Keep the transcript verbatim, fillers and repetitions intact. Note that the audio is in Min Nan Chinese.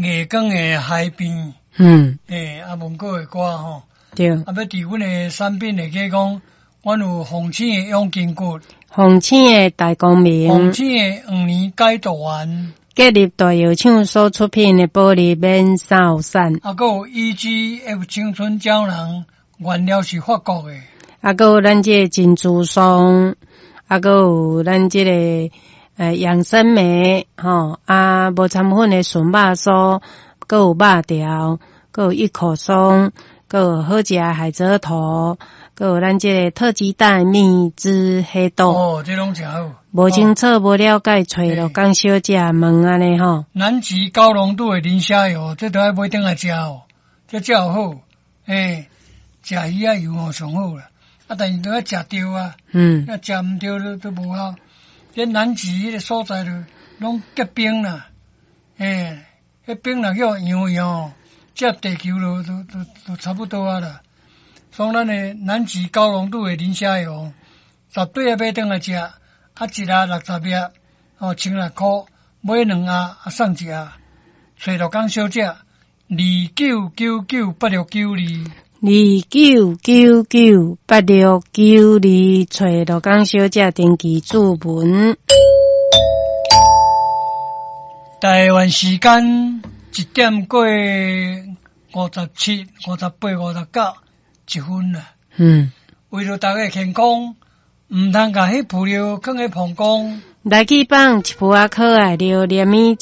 月光的海邊，嗯，欸，啊，文哥的歌吼，對。啊，欲佇阮的產品會記講，阮有鳳醒的養筋骨，鳳醒的大光明，鳳醒的黃連解毒丸，建立大藥廠所出品的保利免掃散，啊，閣有 E G F 青春膠囊，原料是法國的，啊，閣有咱這個珍珠霜，啊，閣有咱這個呃養生酶，吼，啊，無摻粉的純肉酥，閣有肉條，閣有一口鬆，閣有好食的海蜇頭，閣有咱這個特級大蜜汁黑豆。哦，這攏誠好。無清楚、無了解，揣鹿港小姐問按呢吼。南極高濃度的磷蝦油，這都愛買轉來食哦，這才有好。欸，食魚仔油吼上好啦。啊，但是都愛食著啊。嗯。啊，食毋著都都無效。這南極彼个所在就攏結冰啦。欸，彼冰若叫溶溶，這地球就就就就差不多啊啦。所以咱的南極高濃度的磷蝦油，絕對愛買轉來食。啊，一盒六十粒，哦，千六箍，買兩盒啊送一盒。揣鹿港小姐，二九九九八六九二，二九九九八六九二，揣鹿港小姐登記注文。台灣時間一點過五十七、五十八、五十九一分啦。嗯。為著大家健康，毋通共彼浮料囥佇膀胱。來去放一浮仔可愛著連物。